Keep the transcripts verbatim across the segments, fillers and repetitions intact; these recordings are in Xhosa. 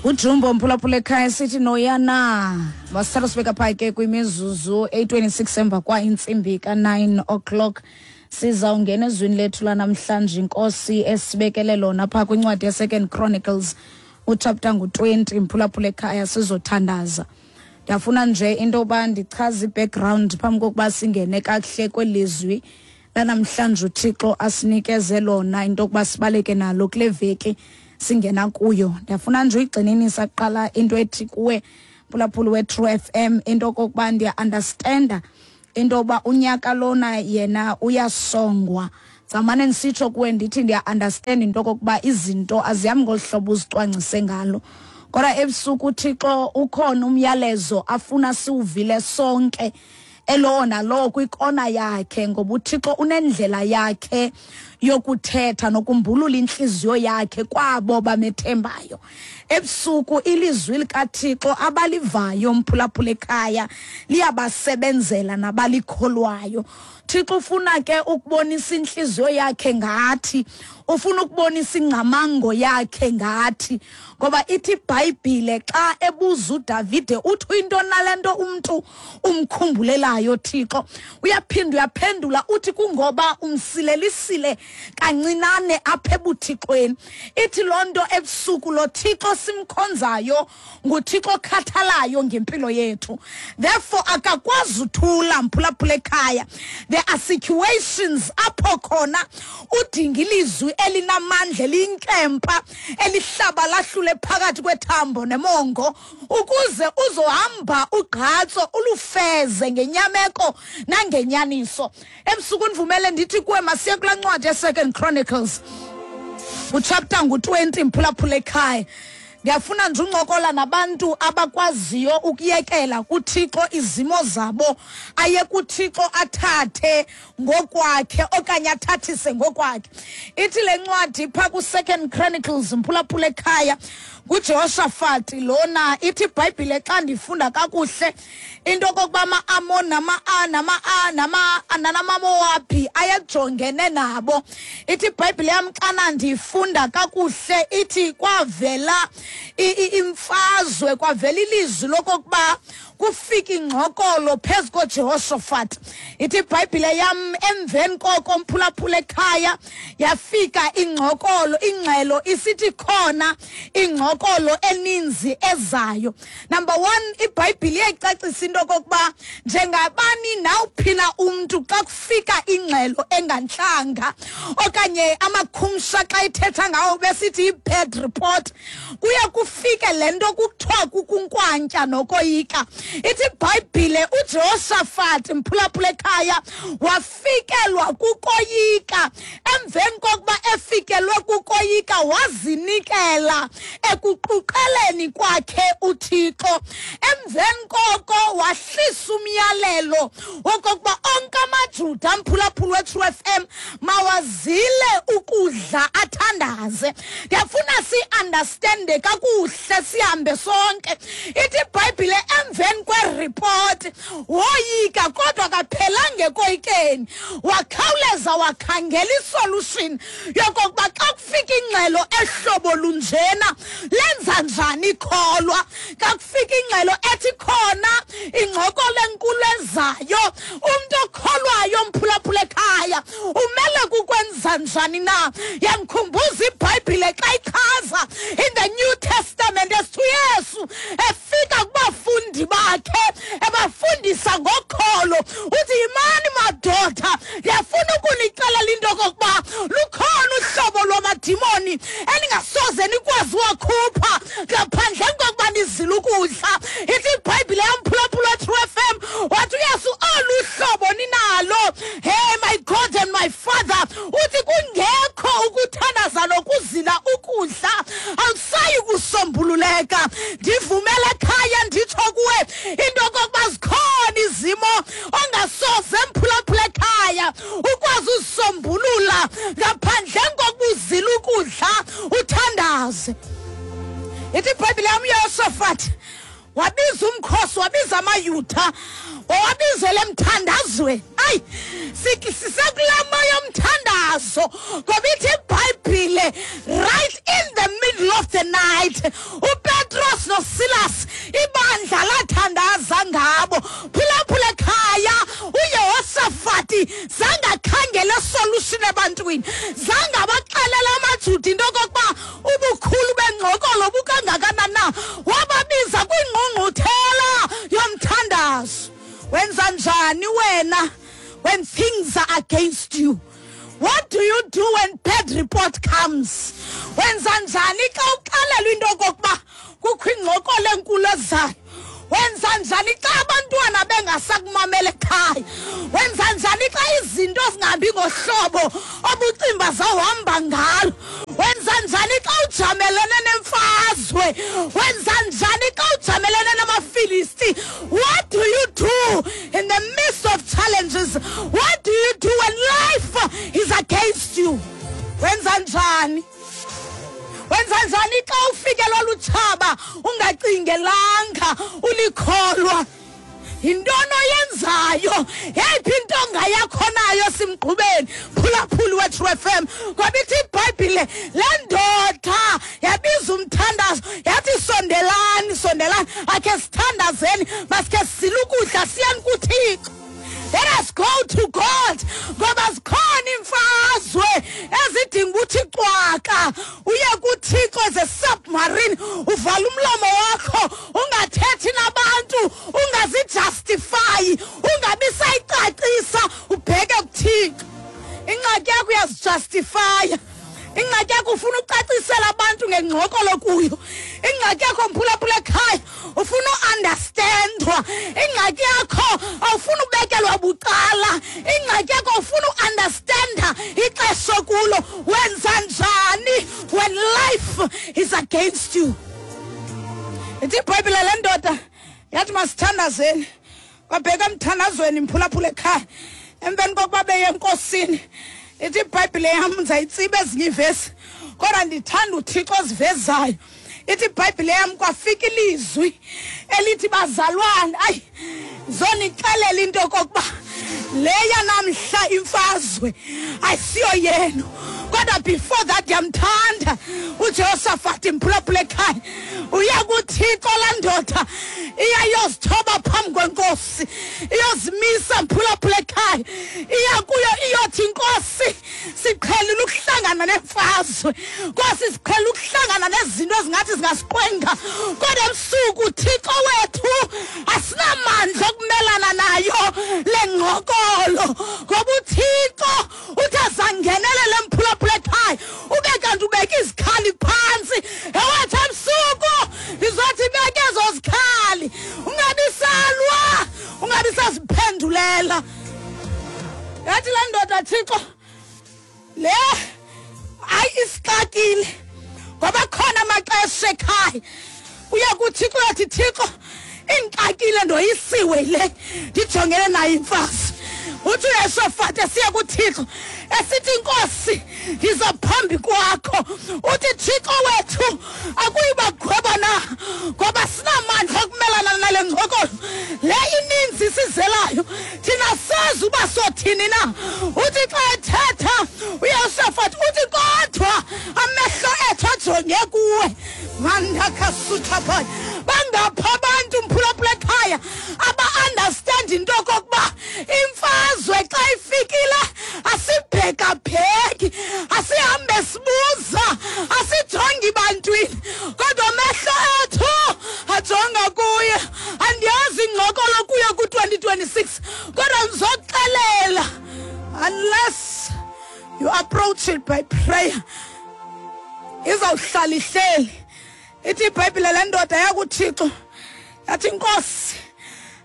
Ujumbo mphulaphula ekhaya sithi noyana masithatha sibeka phaa ke kwimizuzu eyi-twenty-six emva kwa intsimbi ka-nine o'clock. Sizawungena ezwini lethu lanamhlanje, inkosi esibekele lona phaa kwincwadi ye-Second Chronicles uchapter ngu-twenty. Mphulaphula ekhaya, sizothandaza. Ndiyafuna nje into yoba ndichaze i-background phambi kokuba singene kakuhle kwelizwi lanamhlanje uThixo asinikeze lona, into yokuba sibaleke nalo kule veki singena kuyo. Ndiyafuna nje uyigxininisa kuqala into ethi kuwe mphulaphuli we-True F M, into okokuba ndiya-understanda into yokuba unyaka lona yena uyasongwa. Zamane ndisitsho kuwe ndithi ndiya-understand into okokuba izinto azihambi ngolu hlobo uzicwangcise ngalo, kodwa ebusuku uThixo ukhona umyalezo afuna siwuvile sonke, elowo nalowo kwikona yakhe, ngoba uThixo unendlela yakhe yokuthetha nokumbulula intliziyo yakhe kwabo bamethembayo. Ebusuku ilizwi likaThixo abalivayo mphulaphula ekhaya liyabasebenzela nabalikholwayo. Thixo ufuna ke ukubonisa intliziyo yakhe ngathi, ufuna ukubonisa ingcamango yakhe ngathi, ngoba ithi iBhayibhile xa ebuza uDavide uthi into nalento umntu umkhumbulelayo Thixo, uyaphinda uyaphendula uthi kungoba umsilelisile kancinane apha ebuthixweni. Ithi loo nto ebusuku lo Thixo simkhonzayo nguThixo okhathalayo ngempilo yethu, therefore akakwazi uthula mphulaphula ekhaya. There are situations apho khona udinga ilizwi elinamandla, eliyinkempa, elihlaba lahlule phakathi kwethambo nemongo, ukuze uzohamba ugqatso ulufeze ngenyameko nangenyaniso. Ebusuku ndivumele ndithi kuwe masiye kulaa ncwadi ye-Second Chronicles uchapter ngu-twenty mphulaphula ekhaya. Ndiyafuna nje uncokola nabantu abakwaziyo ukuyekela kuThixo izimo zabo, aye kuThixo athathe ngokwakhe okanye athathise ngokwakhe. Ithi le ncwadi phaa ku-Second Chronicles mphulaphula ekhaya nguJehoshafati lona. Ithi iBhayibhile xa ndifunda kakuhle into okokuba ama-Amon nama-A nama-A nama-namaMowabi ayejongene nabo. Ithi iBhayibhile yam xana ndifunda kakuhle ithi kwavela imfazwe, kwavela ilizwi lokokuba kufika ingxokolo phezu koJehoshafat. Ithi iBhayibhile yam emveni koko mphulaphula ekhaya yafika ingxokolo, ingxelo isithi khona ingxokolo eninzi ezayo. Number one, iBhayibhile iyayicacisa into okokuba njengabani nawuphina umntu xa kufika ingxelo engantlanga okanye amakhumsha xa ithetha ngawo besithi i-bad report, kuye kufike le nto kuthiwa kukunkwantya nokoyika. Ithi iBhayibhile uJehoshafat mphulaphula ekhaya wafikelwa kukoyika. Emveni kokuba efikelwe kukoyika wazinikela ekuquqeleni kwakhe uThixo. Emveni koko wahlisa umyalelo wokokuba onke amaJuda mphulaphula we-True F M mawazile ukudla athandaze. Ndiyafuna si-understande kakuhle sihambe sonke. Ithi iBhayibhile emveni kweripoti woyika, kodwa akaphelanga ekoyikeni, wakhawuleza wakhangela isolution yokokuba xa kufika ingxelo ehlobo lunjena lenza njani ikholwa. Xa kufika ingxelo ethi khona ingxokolo enkulu ezayo, umntu okholwayo mphulaphula ekhaya umele kukwenza njani na? Yandikhumbuza iBhayibhile xa ichaza in the New Testament esithi uYesu efika kubafundi bakhe ebafundisa ngokholo, uthi yimani madoda, ndiyafuna ukunixelela into okokuba lukhona uhlobo lwamadimoni eningasoze nikwazi wakhupha ngaphandle kokuba nizile ukudla. Ithi iBhayibhile yamphulaphula True F M wathi uYesu olu hlobo ninalo, hey my God and my Father, uthi kungekho ukuthandaza nokuzila ukudla akusayi kusombululeka. Ndivumele ekhaya nditsho kuwe into okokuba zikhona izimo ongasoze mphulaphula ekhaya ukwazi uzisombulula ngaphandle kokuzila ukudla uthandaze. Ithi iBhayibhile yam uYehoshafat wabiza umkhosi, wabiza amaYuda, wawabizela emthandazweni. Ayi, sisekulaa moya yomthandazo, ngoba ithi iBhayibhile right in the middle of the night uPetros wena when things are against you? What do you do when bad report comes? Wenza njani xa uxelelwa into okokuba kukho ingxokolo enkulu ezayo? Wenza njani xa abantwana bengasakumamela ekhaya? Wenza njani xa izinto zingahambi ngohlobo obucimba zawuhamba ngalo? Wenza njani xa ujamelene nemfazwe? Wenza njani xa ujamelene namaFilisti? What do you do in the midst of challenges? What do you do when life is against you? Wenza njani? Wenza njani xa ufikelwa lutshaba ungacingelanga ulikholwa? Yintoni oyenzayo? Yeyiphi intonga yakho nayo simgqubeni? Phulaphuli weTrue F M. Ngoba ithi iBhayibhile le ndoda yabiza umthandazo yathi sondelani, sondelani, akhe sithandazeni, masikhe sizile ukudla siyeni kuThixo. Let us go to God. Ngoba zikhona imfazwe ezidinga ukuthi cwaka uye kuThixo as a submarine, uvala umlomo wakho, ungathethi nabantu, ungazijustify, ungabi sayicacisa, ubheke kuThixo. Ingxaki yakho uyazijustify. Ingxaki yakho ufuna ucacisela abantu ngengxokolo kuyo. Ingxaki yakho mphulaphula ekhaya ufuna uunderstandwa. Ingxaki yakho awufuna ubekelwa bucala. Ingxaki yakho ufuna uunderstanda ixesha kulo. Wenza njani when life is against you? Ithi iBhayibhile le ndoda yathi masithandazeni. Kwabheka emthandazweni mphulaphula ekhaya. Emveni kokuba beye enkosini, ithi iBhayibhile yam ndizayitsiba ezinye iivesi, kodwa ndithanda uThixo ozivezayo. Ithi iBhayibhile yam kwafika ilizwi elithi bazalwane, ayi zonixelela into okokuba le yanamhla imfazwe ayisiyo yenu. Kodwa before that ndiyamthanda uJehoshafati mphulaphula ekhaya. Uya kuThixo laa ndoda iyayozithoba phambi kwenkosi, iyozimisa mphulaphula ekhaya, iya kuyo iyothi inkosi siqhelile ukuhlangana nemfazwe, Nkosi siqhelile ukuhlangana nezinto ezingathi zingasiqwenga, kodwa ebusuku Thixo wethu asinamandla okumelana nayo le ngxokolo, ngoba uThixo uthi azangenelele mphulaphula ekhaya, ube kanti ubeke izikhali phantsi. Ewathi ebusuku ndizothi beke ezo zikhali, ungabi salwa, ungabi saziphendulela. Yathi laa ndoda, Thixo le hayi isixakile, ngoba khona amaxesha ekhaya uya kuThixo uyathi Thixo indixakile, ndoyisiwe le ndijongene nayo imfazwe. Uthi uYeshofati esiya kuThixo esithi inkosi ndiza phambi kwakho, uthi Thixo wethu akuyibagweba na, ngoba sinamandla okumelana nale ngxokolo le ininzi sizelayo, thina sazi uba sothini na. Uthi xa ethetha uYeshofati uthi kodwa amehlo ethu ajonge kuwe. Mandakasuthapha bangapha abantu mphulaphula ekhaya aba-understand into okokuba imfazwe xa ifikile asibhekabheki, asihambe sibuza, asijongi bantwini, kodwa amehlo ethu ajonga kuye. Andiyazi ingxokolo kuye ku-twenty twenty-six, kodwa ndizoxelela, unless you approach it by prayer, izawuhlala ihleli. Ithi iBhayibhile le ndoda yakuThixo yathi inkosi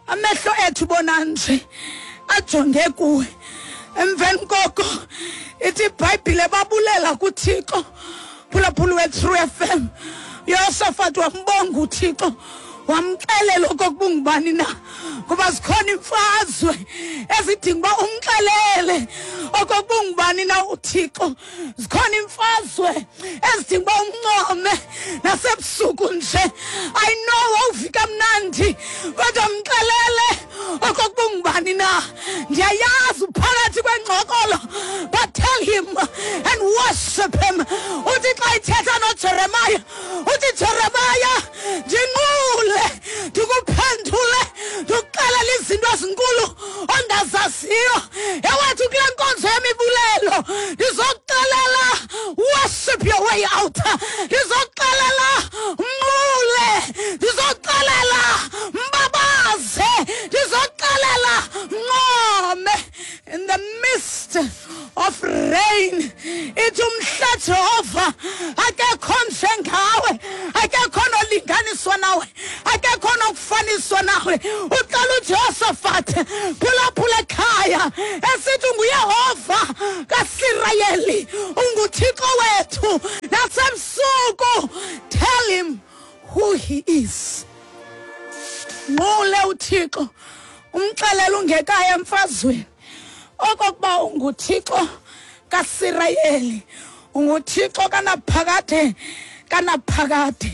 amehlo ethu bona nje ajonge kuwe. Emveni koko ithi iBhayibhile babulela kuThixo. Phulaphula weTrue F M. uYoshafati wambonga uThixo, wamxelela okokuba ungubani na, ngoba zikhona imfazwe ezidinga uba umxelele okokuba ungubani na uThixo. Zikhona imfazwe ezidinga uba umncome nasebusuku nje. I know awuvika mnandi, kodwa mxelele okokuba ungubani na. Ndiyayazi uphakathi kwengxokolo, but tell him and worship him. Uthi xa ithetha noJeremiah, uthi Jeremiah ndinqule, ndikuphendule, ndikuxelela izinto ezinkulu ongazaziyo. Ewethu kule nkonzo yemibulelo ndizokuxelela worship your way out, ndizokuxelela mnqule, ndizokuxelela mbabaze, ndizokuxelela mnqobe. Yehova, akekho njengawe, akekho nolinganiswa nawe, akekho nokufaniswa nawe. Uxela uJosephat, phulaphula ekhaya, esithi unguYehova kaSirayeli, unguThixo wethu. Nasebusuku, tell him who he is. Nqule uThixo, umxelele ungekaya emfazweni okokuba unguThixo kaSirayeli, unguThixo kanaphakade kanaphakade.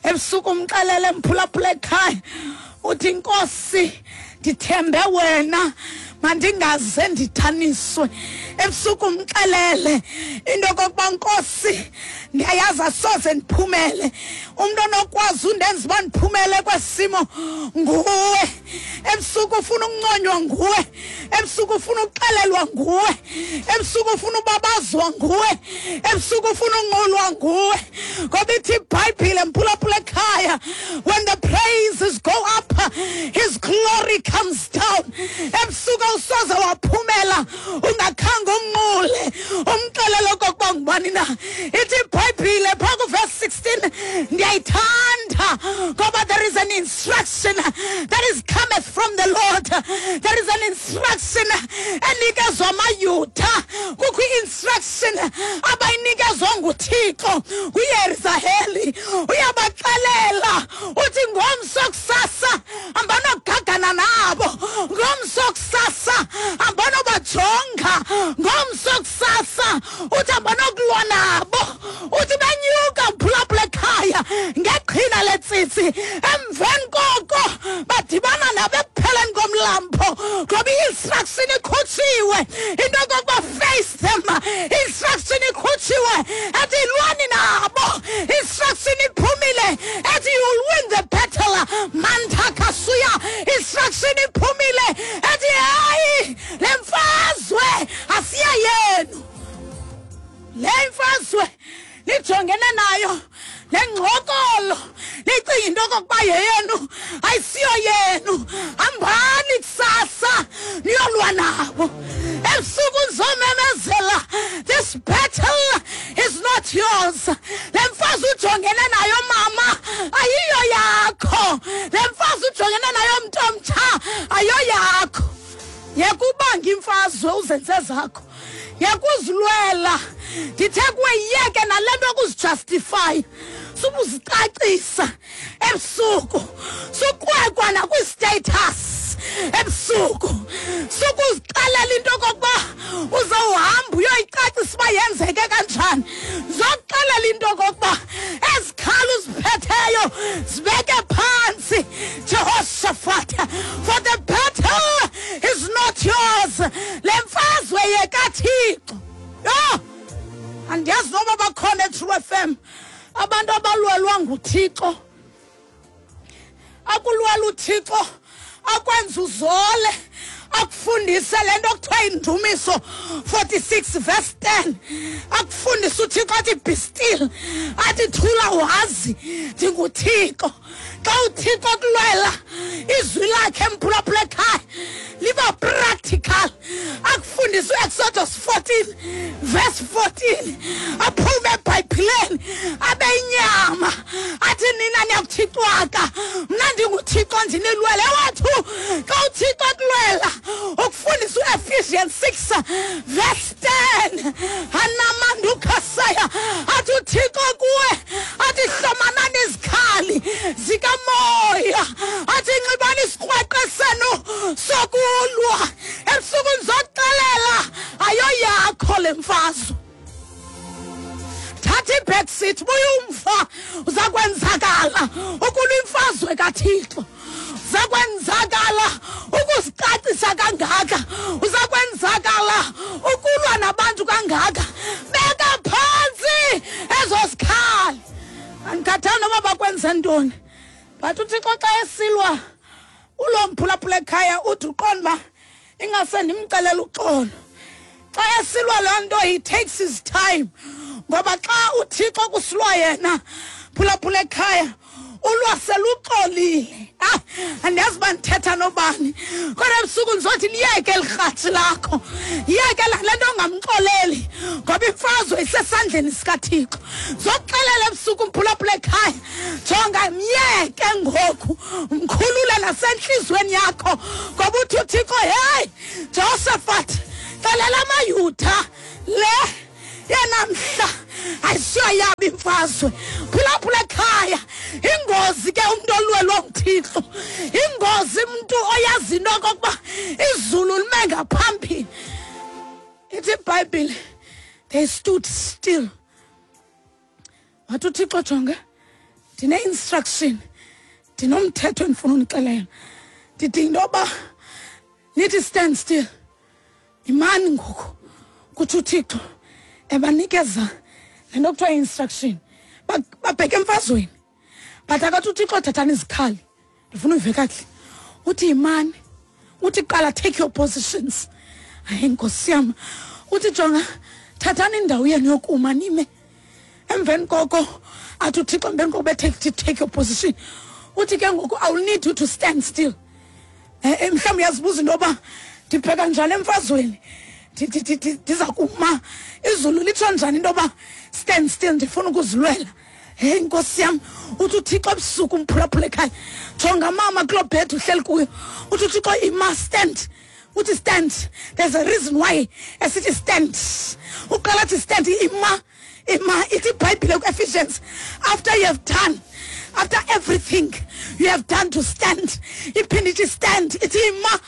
Ebusuku umxelele, mphulaphula ekhaya, uthi Nkosi, ndithembe wena, mandingaze ndithaniswe. Ebusuku umxelele into yokokuba Nkosi, ndiyayazi asoze ndiphumele, umntu onokwazi undenza uba ndiphumele kwesimo nguwe. Ebusuku ufuna ukunconywa nguwe, ebusuku ufuna ukuxelelwa nguwe, ebusuku ufuna ubabazwa nguwe, ebusuku ufuna unqulwa nguwe. Ngoba ithi iBhayibhile, mphulaphula ekhaya, when the praises go up, his glory comes down. Ebusuku awusoze waphumela ungakhange umnqule, umxelele okokuba ngubani na. Ithi iBhayibhile phaa kuverse sixteen, ndiyayithanda ngoba there is an instruction that is cometh from the Lord. There is an instruction enikezwa amaYuda, kukho i-instruction abayinikezwa nguThixo kuYerusalem. Uyabaxelela uthi ngomso kusasa hambanogagana nabo, ngomso kusasa hambanobajonga, ngomso kusasa uthi hambanokulwa nabo. Uthi benyuka, mphulaphula ekhaya, ngeqhina letsitsi, emveni koko badibana nabo ekupheleni komlambo, ngoba i-instruction ikhutshiwe into yokokuba face them. Instruction ikhutshiwe ethi lwani nabo. Instruction iphumile ethi you will win the battle. Mantakasuya. Instruction iphumile ethi hayi, le mfazwe asiya yenu, le mfazwe nijongene nayo, le ngxokolo nicinga into okokuba yeyenu, ayisiyo yenu. Hambani kusasa niyolwa nabo. Ebusuku nizomemezela, this battle is not yours. Le mfazwe ujongene nayo mama ayiyo yakho, le mfazwe ujongene nayo mntu omtsha ayiyo yakho. Yekubanga imfazwe uzenze zakho, yekuzilwela. Ndithe kuwe yeke nale nto yokuzijustify, subuzicacisa ebusuku, sukwekwa nakwi-status ebusuku, sukuzixelela into okokuba uzawuhamba uyoyicacisa uba yenzeke kanjani. Zokuxelela into okokuba ezikhali uziphetheyo zibeke phantsi, Jehoshaphat, for the battle is not yours. Le mfazwe yekaThixo. Yho, andiyazi noba bakhona eTrue F M abantu abalwelwa nguThixo. Akulwela uThixo akwenza uzole, akufundise le nto kuthiwa Indumiso forty-six verse ten. Akufundise uThixo athi be still, athi thula wazi ndinguThixo. Xa uThixo kulwela, izwi lakhe mphulaphula ekhaya liba practical. Akufundise uExodus fourteen verse fourteen, aphume eBhayibhileni abe inyama, athi nina niyakuthixwaka, mna ndinguThixo ndinilwele. Wethu, xa uThixo kulwela, ukufundisa uEphesians six verse ten, anamandukhasaya, athi uThixo kuwe, athi hlomanani izikhali zikamoya, athi nxibani isikrweqe senu sokulwa. Ebusuku ndizokuxelela ayoyakho le mfazwe. Thatha i-backseat, buya umva, uza kwenzakala ukulwa imfazwe kaThixo. Uza kwenzakala ukuzicacisa kangaka, uza kwenzakala ukulwa nabantu kangaka. Beka phantsi ezo zikhali. Andikhathali noba bakwenze ntoni, but uThixo xa esilwa ulo mphulaphula ekhaya uthi uqonda uba ingase ndimxelele uxolo. Xa esilwa loo nto, he takes his time, ngoba xa uThixo kusilwa yena, phulaphula ekhaya, Ulwa seluxolile. Ah, andiyazi uba ndithetha nobani, kodwa ebusuku ndizothi liyeke elirhatshi lakho, yeke le nto ongamxoleli, ngoba imfazwe isesandleni sikaThixo. Ndizokuxelela ebusuku, mphulaphula ekhaya, jonga, myeke ngoku, mkhulule nasentliziyweni yakho, ngoba uthi uThixo, heyi Jehoshaphat, xelela amaYuda le yenamhla ayisiyo yabo imfazwe. Phulaphula ekhaya, ingozi ke umntu olwelwa nguThixo, ingozi umntu oyazi into okokuba izulu lime ngaphambili. Ithi iBhayibhile, they stood still. Wathi uThixo, jonga, ndine-instruction, ndinomthetho endifuna unixelela. Ndidinga into yoba nithi stand still, imani ngoku, kutsho uThixo, ebanikeza le nto kuthiwa i-instruction. Babheke emfazweni, but akathi uThixo thathani izikhali. Ndifuna uyive kakuhle. Uthi yimani, uthi qala take your positions. Hayi nkosi yam, uthi jonga, thathani indawo yenu yokuma nime. Emveni koko athi uThixo, emveni koko bethe take your position, uthi ke ngoku I will need you to stand still. Mhlawumbi uyazibuza into yoba ndibheka njani emfazweni, ndiza kuma, izulu litsho njani into yoba stand still, ndifuna ukuzilwela. Hey nkosi yam, uthi uThixo ebusuku, mphulaphula ekhaya, jonga mama kuloo bed uhleli kuyo, uthi uThixo ima, stand. Uthi stand. There's a reason why esithi stand. Uqala athi stand, ima, ima. Ithi iBhayibhile ku-Ephesians, after you have done, after everything you have done to stand, iphinde ithi stand, ithi ima,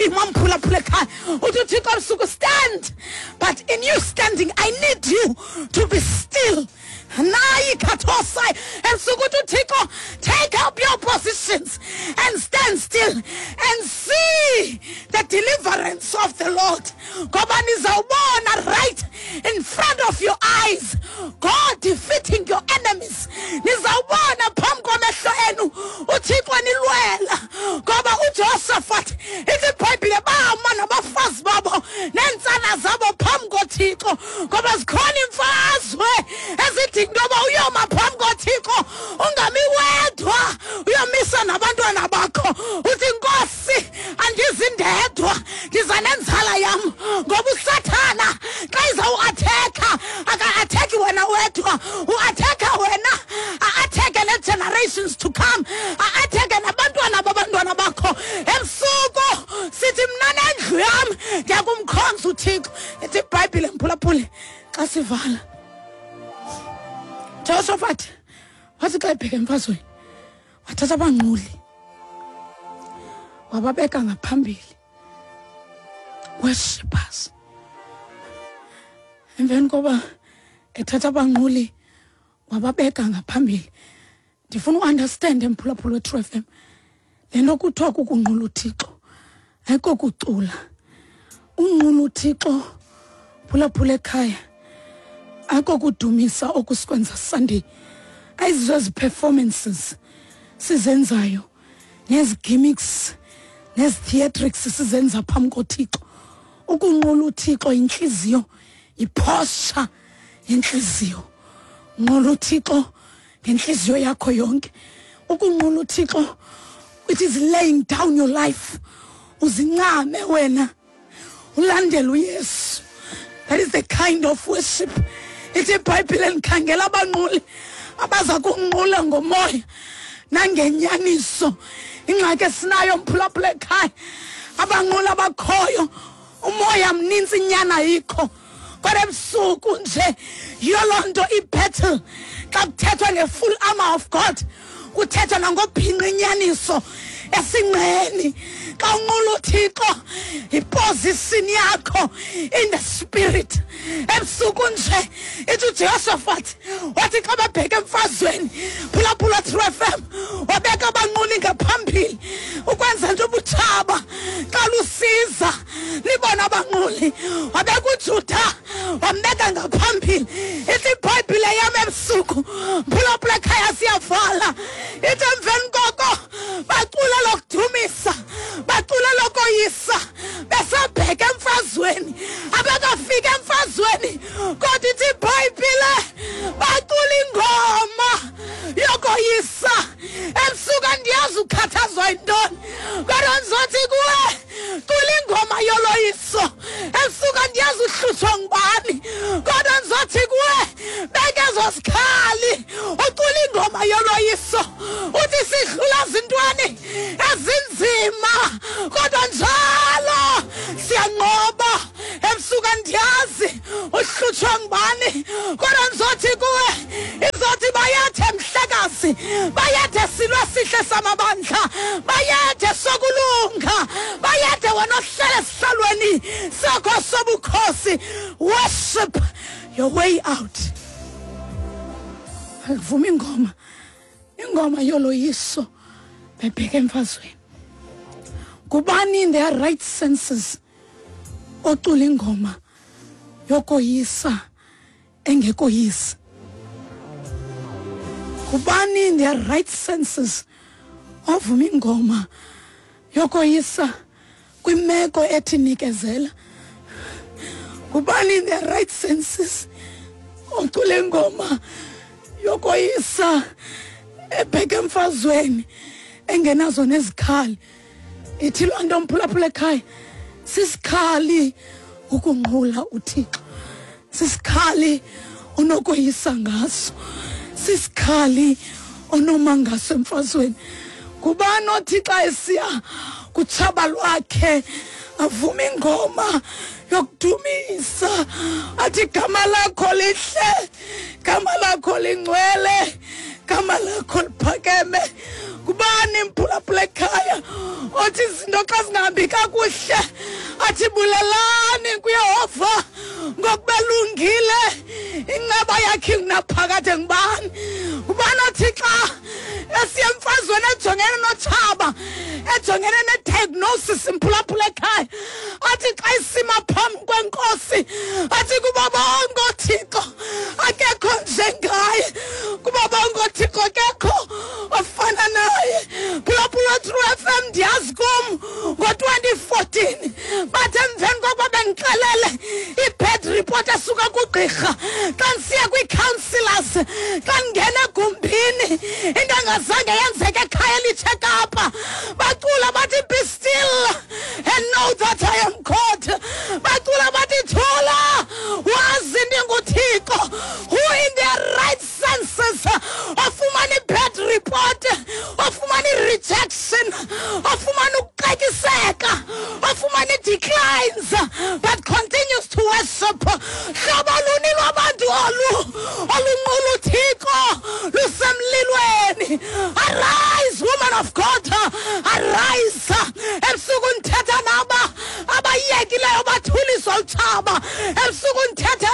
ima mphulaphula ekhaya. Uthi uThixo ebusuku stand, but in you standing I need you to be still. Nayi kathosai ebusuku uthi uThixo, take up your positions and stand still and see the deliverance of the Lord. Ngoba nizawubona right in front of your eyes God defeating your enemies. Nizawubona phambi kwamehlo enu uThixo nilwela. Ngoba uJosephat, ithi iBhayibhile, bama nabafazi babo neentsana zabo phambi koThixo, ngoba zikhona imfazwe ezidinga into yoba uyoma phambi koThixo, ungami wedwa, uyomisa nabantwana bakho. Uthi Nkosi, andizindedwa, ndiza nenzala yam. Ngoba uSathana xa izawuathekha, aka-athekhi wena wedwa, uathekha wena, a-athekhe ne-generations to come, a-athekhe nabantwana babantwana bakho. Ebusuku sithi mna nendlu yam ndiyakumkhonza uThixo. Ithi iBhayibhile, mphulaphuli, xa sivala, Jehoshaphat wathi xa ebheka emfazweni, wathatha abanquli wababeka ngaphambili, worshippers. Emveni koba ethatha abanquli wababeka ngaphambili, ndifuna uunderstand emphulaphula we-True F M, le nto kuthiwa kukunqula uThixo ayikokucula. Unqula uThixo, phulaphula ekhaya, ayikokudumisa okusikwenza Sunday, ayizizo ezi performances sizenzayo nezi gimmicks nezi theatrics sizenza phambi koThixo. Ukunqula uThixo yintliziyo, yiposture yentliziyo. Nqula uThixo ngentliziyo yakho yonke. Ukunqula uThixo, it is laying down your life, uzincame wena, ulandele uYesu. That is the kind of worship. Ithi iBhayibhile, ndikhangela abanquli abaza kunqula ngomoya nangenyaniso. Ingxaki esinayo mphulaphula ekhaya, abanquli abakhoyo umoya mnintsi, inyana ayikho. Kodwa ebusuku nje yiyo loo nto i-battle, xa kuthethwa nge-full armor of God, kuthethwa nangobhinqa inyaniso esinqeni. Xa unqula uThixo, yiposition yakho in the spirit. Ebusuku nje ithi uJehoshaphat wathi xa babheka emfazweni, phulaphula True F M, wabeka abanquli ngaphambili ukwenza nto ubutshaba xa lusiza libona abanquli. Wabeka uJuda wambeka ngaphambili. Ithi iBhayibhile yam ebusuku, phulaphula ekhaya, siyavala. Ithi emveni koko bacula lokudumisa, bacula lokoyisa, besabheka emfazweni. Abakafika emfazweni, kodwa ithi iBhayibhile bacula ingoma yokoyisa. ingoma yoloyiso. Uthi sidlula zintweni ezinzima, kodwa njalo siyanqoba. Ebusuku andiyazi uhlutshwa ngubani, kodwa ndizothi kuwe, izothi bayethe mhlekazi, bayethe silwe sihle samabandla, bayethe sokulunga, bayethe wena ohlele esihlalweni sakho sobukhosi. Worship your way out. Akuvuma ingoma, ingoma yoloyiso bebheke emfazweni. Kubani in their right senses ocula ingoma yokoyisa engekoyisa? Kubani in their right senses ovuma ingoma yokoyisa kwimeko ethi nikezela? Kubani in their right senses ocula ingoma yokoyisa ebheke emfazweni engenazo nezikhali? Ithi loo nto, mphulaphula ekhaya, sisikhali ukunqula uThixo, sisikhali onokoyisa ngaso, sisikhali onoma ngaso emfazweni. Kubani othi xa esiya kutshaba lwakhe avuma ingoma yokudumisa, athi gama lakho lihle, gama lakho lingcwele, gama lakho liphakeme? Kubani mphulaphula ekhaya othi izinto xa zingahambi kakuhle athi bulelani kuYehova ngokuba lungile, inceba yakhe ingunaphakade? Ngubani? Ngubani othi xa esiya emfazweni ejongene notshaba, ejongene ne-diagnosis, mphulaphula ekhaya, athi xa isima phambi kwenkosi athi kubo bonke oothixo akekho njengaye, kubo bonke oothixo akekho ofana naye? Phulaphula True F M, ndiyazi kum ngo-twenty fourteen bathi emveni kokuba bendixelele i-bad report esuka kugqirha, xa ndisiya kwii-councillors, xa ndingena egumbini, into engazange yenzeke ekhaya elitshe eKapa, bacula bathi be still and know that I am God. Bacula bathi thula wazi ndinguThixo. Who in their right senses ofumana i-bad report, ofumana i-rejection, ofumana ukuxekiseka, ofumana i-declines, but continues to worship? Hlobo luni lwabantu olu olunqula uThixo lusemlilweni? Arise, woman of God, arise. Ebusuku ndithetha naba abayekileyo bathuliswa utshaba. Ebusuku ndithetha